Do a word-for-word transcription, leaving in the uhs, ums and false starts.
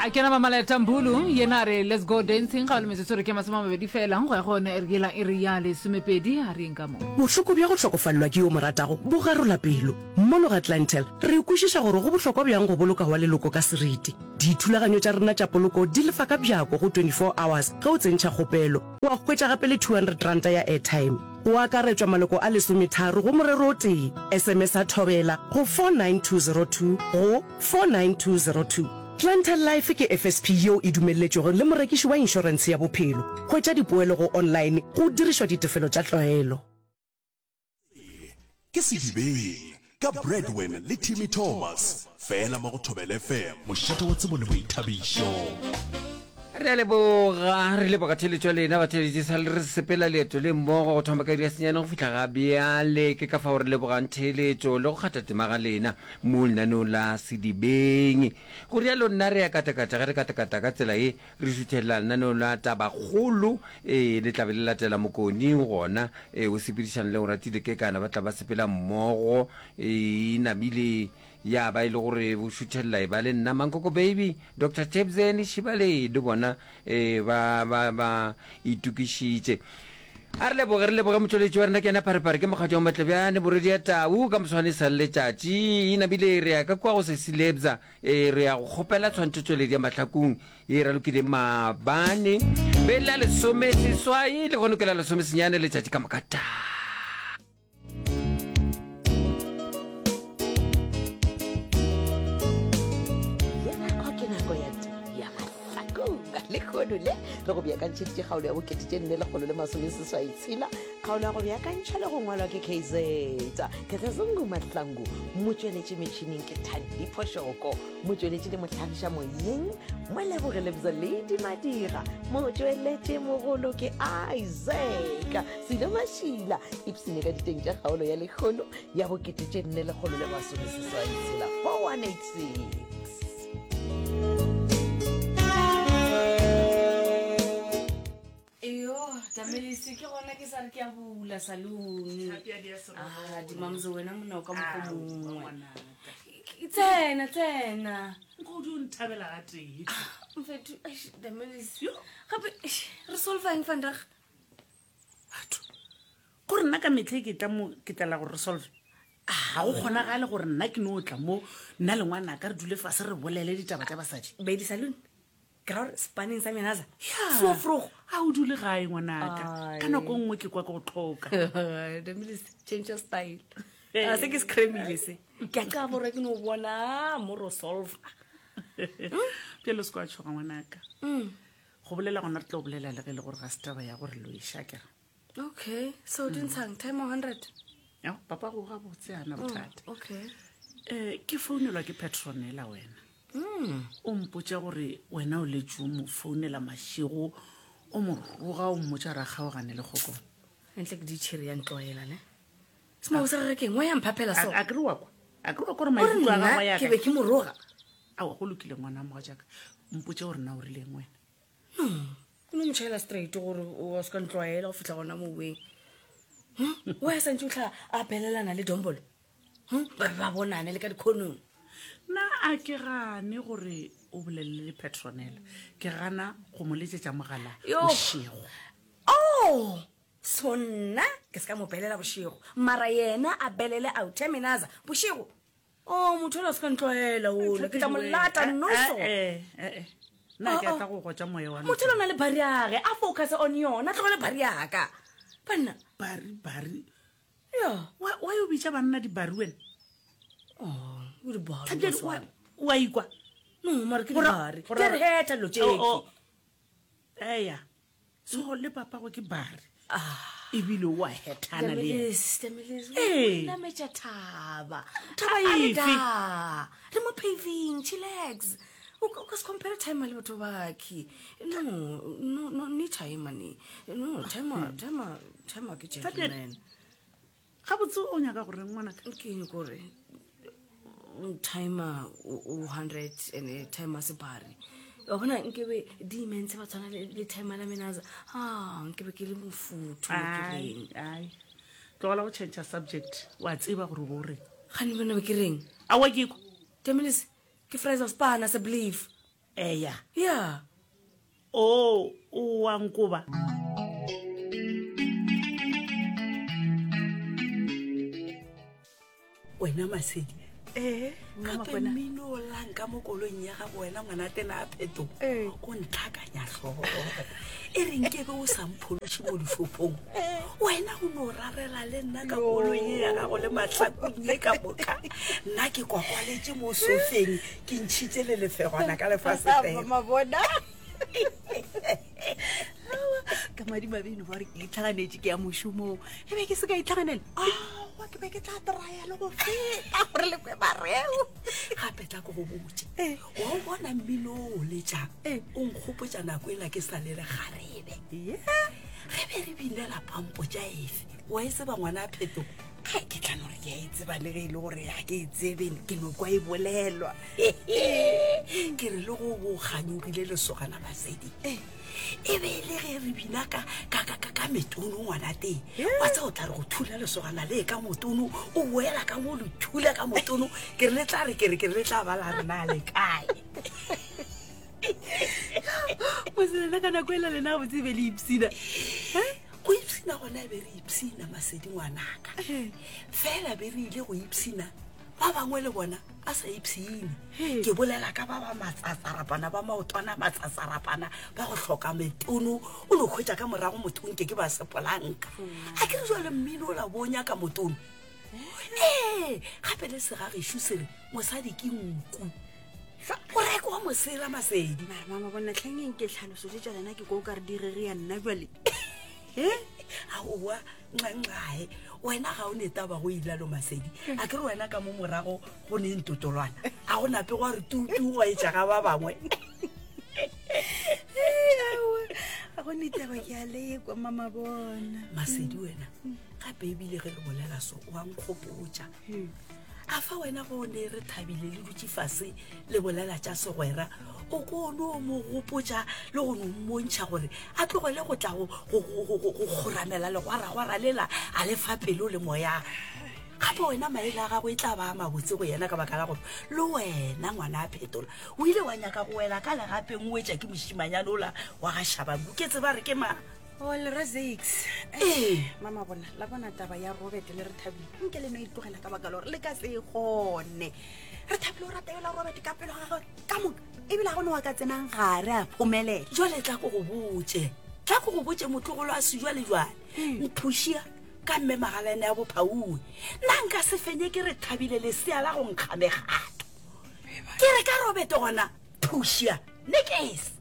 A ke na Mamaleta Mbulu yena a re let's go dancing ga le metsotso re ke masome a mabedi fela go ya go yone e re yela e re ya lesomepedi a re yeng ka mo. Bohloko bja go hlokofalelwa ke yo o mo ratago bo garola pelo. Mono ga Clientele, re kwešiša gore go bohlokwa bjang go boloka wa leloko ka seriti. Dithulaganyo tša rena tša poloko di lefa ka bjako go twenty four hours ge o tsentšha kgopelo, wa hwetša gape le two hundred ranta ya airtime. Go akaretšwa maloko a lesometharo go morero o tee. S M S a Thobela go four nine two zero two go four nine two zero two. Clientele Life ke F S P yeo e dumelletšwego le morekiši wa inšorentshe ya bophelo. Hwetša dipoelo go online go dirišwa ditefelo tša tlwaelo. Ke Sedibeng ka Bradwin le Timmy Thomas fela mo go Thobela F M, mošate wa tsebo le boithabišo. Re a leboga, re leboga theeletšo ya lena batheeletši sa le re sepela leeto le mmogo go thoma ka iri ya senyane go fihla ga bjale. Ke ka fao re lebogang theeletšo le go kgatha tema ga lena mo lenaneong la Sedibeng. Go rialo nna re ya katakata, ge re katakata ka tsela ye re šuthelela lenaneong la Tabakgolo, ee, le tla be le latela Mokoni gona, ee, o sepedišana le Oratile Kekana, ba tla ba sepela mmogo, ee, e namile ya ba e le gore o šuthelela e ba le nna Mankoko Baby, Doctor Tebzeni Shibale le bona, ee, ba, ba, ba itokišitše. A re leboge, re leboge motšweletši wa rena ke yena Pharephare, ke mokgatšo wa Matlebjane, Boredi ya Tau, ka moswane e sa le letšatši, e namile re ya ka kua go Sesi Lebza, ee, re ya go kgopela tshwantšhotšweledi ya Mahlakung ye e ralokile maabane, be la lesome seswai, lehono ke la lesome senyane, letšatši ka moka taa. Lehono le re go beakantšheditše kgaolo ya bokete tše nne lekgolo le masome seswai tshela. Kgaolo ya go beakantšha le go ngwalwa ke K Z Kethazungu Mahlangu, motšweletši metšhineng ke Thandi Phošoko, motšweletši le mohlagiša moyeng Moleboge Lebza Lady Madira, motšweletši mogolo ke Isaac Silo Mašila. Ipsene ka diteng tša kgaolo ya lehono ya bokete tše nne lekgolo le masome seswai tshela, four one eight six. Eyo, Tamelisi, ke gona ke sa re ke a bula saloon. Ah, dimamzo wena monna o ka mokgo mongwe. Tsena, tsena. Nkgodi o nthabela ga tee. Mfethu, eish, Tamelisi. Gape, eish, re solva eng vandag? Batho, gore nna ka metlha e ke tla mo, ke tlela gore re solve. Ga go kgonagale gore nna ke no tla mo, nna le ngwanaka re dule fase re bolele ditaba tša basadi. Baby saloon. Ke ra gore spaneng sa menaza. Ya. So vroeg. A o dule gae ngwanaka. Ai. Ka nako nngwe ke kwa ke go tlhoka. Tamelisi, change your style. A se ke se cremile se. Ke a ka borwa ke no bona mo ro solve. Bjale o se kwa tšhoga ngwanaka. Mm. Go bolela gona re tlo bolela le ge e le gore ga se taba ya gore loiša kere. Okay, so di ntshang time hundred. Ya, papa go ga botse ana bothata. Mm, okay. Eh, ke founelwa ke Petronella wena. Mm. O mpotša gore wena o letše o mo founela mašego, o mo roga, o mmotša gore a kgaogane le Kgokong. Ntle ke ditšhiri ya ntlwaela, ne? Semago sa gagwe ke eng? Wa ya mphaphela so? A, a ke re wa kwa? A ke re wa kwa gore O re maikutlo a nna gagwe ya ke ka? be ke mo roga. Aowa, go lokile ngwana wa mogatšaka. Mpotše gore na o rileng wena. No, o no mo tšhaela straight gore o se ka ntlwaela go fihla gona moweng. Hm? Wa ya santse o tlha a belelana le Dombolo? Hm? Ba be ba bonane le ka dikhonong. Nna a ke gane gore o bolelele le Petronella. Ke gana go mo letšetša mogala Yo. bošego. Oh, so nna ke se ka mo belela bošego. Mara yena a belele out Terminaza bošego. Oh, motho o se ka ntlwaela ola. Ke tla mo lata noso. Eh, eh, eh. Nna ke Oh, oh. tla go gotša moya wa Motho o na le bari yage, a focus on yona, tlogele bari yaka. Banna. Bari, bari. Ya. Wa, wa yo bitša banna dibari wena? Oh, o di bari, Thabjadi, Maswana. wa, wa ikwa? No, mara ke Gora- dibari. gora- Ke re heta dilo tše. Oh, oh. Eya. So le papa go ke bari. Ah. Ebile o a hethana le yena. Tamelis, Tamelis, Ee. o nametša thaba. Thaba A re efe? da. Re mo paving, chillax. O ka o ka se compare time le batho bakhe. No, no, no, ni time ni. No, time, time, time ke gentleman. Gabotse o nyaka gore ngwanaka? Ke eng kore timer o o hundred and timer se bari. Wa bona nkebe di-immense ba tshwana le le timer la menaza. Ah, nkebe ke le mofuthu mo ke Ai, reng. ai. Tlogela go change subject. Wa tseba gore o bo o reng. Gane bana be ke reng? Aowa ke kwa. Tamelis, ke Fraser Spana se believe. Eya. Ya. O o wa nkoba. Wena Masedi. Ee, Gape mmino o llang ka mo koloing ya gago wena ngwana tena a pheto o ntlhakanya hlogo. E re nke be o sa mphološe mo dishopong. Wena o no rarela le nna ka koloi ye ya gago le mahlakong ye ka moka. Nna ke kwakwaletše mo sofeng ke ntšhitše le lefegwana ka lefasetere. Mama bona. Ka madimabe eno ba gore ke itlhaganetše ke ya mošomong. E be ke se ka itlhaganela. Aowa, ke be ke tla traya le go feta gore le kwe mareo. Gape tla ko go botše. Wa o bona mmino o o letšang, o nkgopotša nako ela ke sa le lekgarebe. Re be re binela pampo tša efe? Wa e tseba ngwana a Phetogo? Ai, ke tla no re ke a e tseba le ge e le gore ga ke e tsebe, ke no kwa e bolelwa. Ke re le go bo kganyogile lesogana Masedi. E be e le ge re bina ka, ka, ka, ka, ka metono ngwana teng. Wa tseba o tla re go thula lesogana le ka motono, o boela ka mo le thula ka motono. Ke re le tla re, ke re, ke re le tla ba la rena le kae. Moselena ka nako ela lena gabotse e be le ipshina. Go ipshina gona e be re ipshina Masedi ngwanaka. Fela be re ile go ipshina, ba bangwe le bona ba sa ipshine. Ke bolela ka ba ba matsatsarapana, ba maotwana matsatsarapana, ba go hloka metono, o no hwetša ka morago motho nke ke ba sepolanka. A ke re jwale mmino o la bo nyaka motono. Ee, gape le segagešo se re mosadi ke nku. O rekwa mosela Masedi. Mara mama bona hlengeng ke tlhaloso tše tša lena ke kwa o ka re di rere ya nna jwale. Eh? Aowa, nxanxae, wena ga o ne taba go ilalo Masedi. A ke re wena ka mo morago go ne ntotolwana. A go nape gwa re tutu gwa etša ga ba bangwe. Aowa, ga go ne taba ke a lekwa mama bona. Masedi wena, gape ebile ge re bolela so o a nkgopotša. A fa wena go ne re thabile le dutše fase le bolela tša segwera, o ko no mo gopotša le go no mmontšha gore a tlogele go tla go, go, go, go, go, go kgoramela legwaragwara lela a le fa pelo le moya. Gape wena maele a gago e tla ba a mabotse go yena ka baka la gore le wena ngwana a Phetola o ile wa nyaka go wela ka legapeng o etša ke mošimanyane ola wa ga Shabangu. Ke tseba re ke mang? O le re Zakes. Ee. Mama bona, la bona taba ya Robert le re thabile. Nke le no e tlogela ka baka la gore le ka se e kgone. Re thabile o rata yola Robert ka pelo ga gagwe ka moka. Ebile ga go ne wa ka tsenang gare a phomelela. Jwale tla ko go botše. Tla ko go botše motlogolo a sejwalejwale. Mphušia ka mme magalane ya bophauwe. Nna nka se fenye ke re thabile lesea la go nkga megato. Ke re ka Robert gona, phušia, nekese.